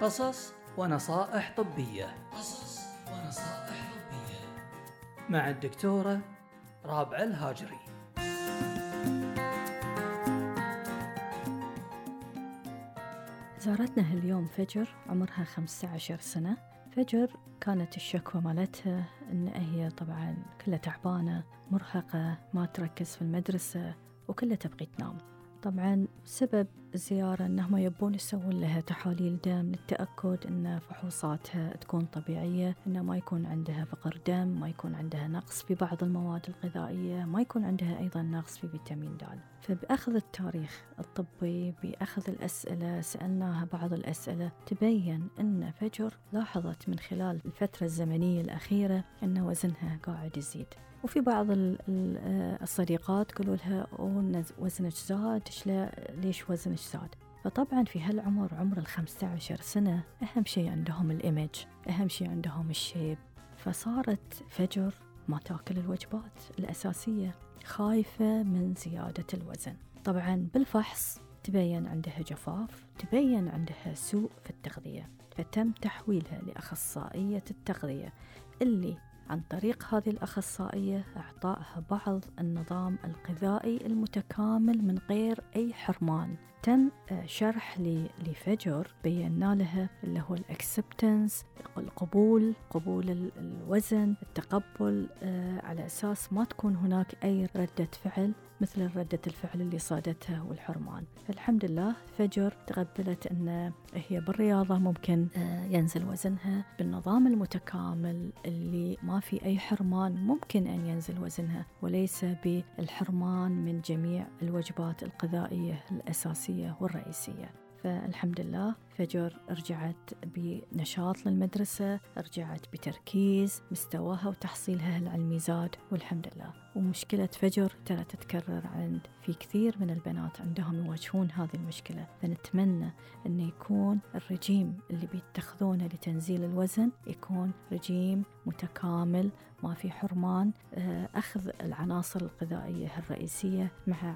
قصص ونصائح طبية مع الدكتورة رابعة الهاجري. زارتنا هاليوم فجر عمرها 15 سنة. فجر كانت الشكوى مالتها إن هي طبعا كلها تعبانة مرهقة، ما تركز في المدرسة وكلها تبغي تنام. طبعا سبب الزيارة إنهم يبون يسوون لها تحاليل دم للتأكد إن فحوصاتها تكون طبيعية، إنه ما يكون عندها فقر دم، ما يكون عندها نقص في بعض المواد الغذائية، ما يكون عندها أيضا نقص في فيتامين د. فبأخذ التاريخ الطبي، بأخذ الأسئلة، سألناها بعض الأسئلة تبين أن فجر لاحظت من خلال الفترة الزمنية الأخيرة أن وزنها قاعد يزيد. وفي بعض الصديقات قالوا لها وزنك زاد، ليش وزنك زاد؟ فطبعا في هالعمر، عمر 15 سنة، أهم شيء عندهم الإيمج، أهم شيء عندهم الشيب. فصارت فجر ما تأكل الوجبات الأساسية، خايفة من زيادة الوزن. طبعا بالفحص تبين عندها جفاف، تبين عندها سوء في التغذية، فتم تحويلها لأخصائية التغذية اللي عن طريق هذه الأخصائية أعطائها بعض النظام الغذائي المتكامل من غير أي حرمان. تم شرح لفجر، بينا لها اللي هو الأكسبتنس، قبول الوزن، التقبل، على أساس ما تكون هناك أي ردة فعل مثل ردة الفعل اللي صادتها والحرمان. فالحمد لله فجر تقبلت أن هي بالرياضة ممكن ينزل وزنها، بالنظام المتكامل اللي ما في أي حرمان ممكن أن ينزل وزنها، وليس بالحرمان من جميع الوجبات الغذائية الأساسية والرئيسية. فالحمد لله فجر رجعت بنشاط للمدرسة، رجعت بتركيز، مستواها وتحصيلها العلمي زاد والحمد لله. ومشكلة فجر ترى تتكرر في كثير من البنات عندهم يواجهون هذه المشكلة. فنتمنى أن يكون الرجيم اللي بيتخذونه لتنزيل الوزن يكون رجيم متكامل، ما في حرمان، أخذ العناصر الغذائية الرئيسية مع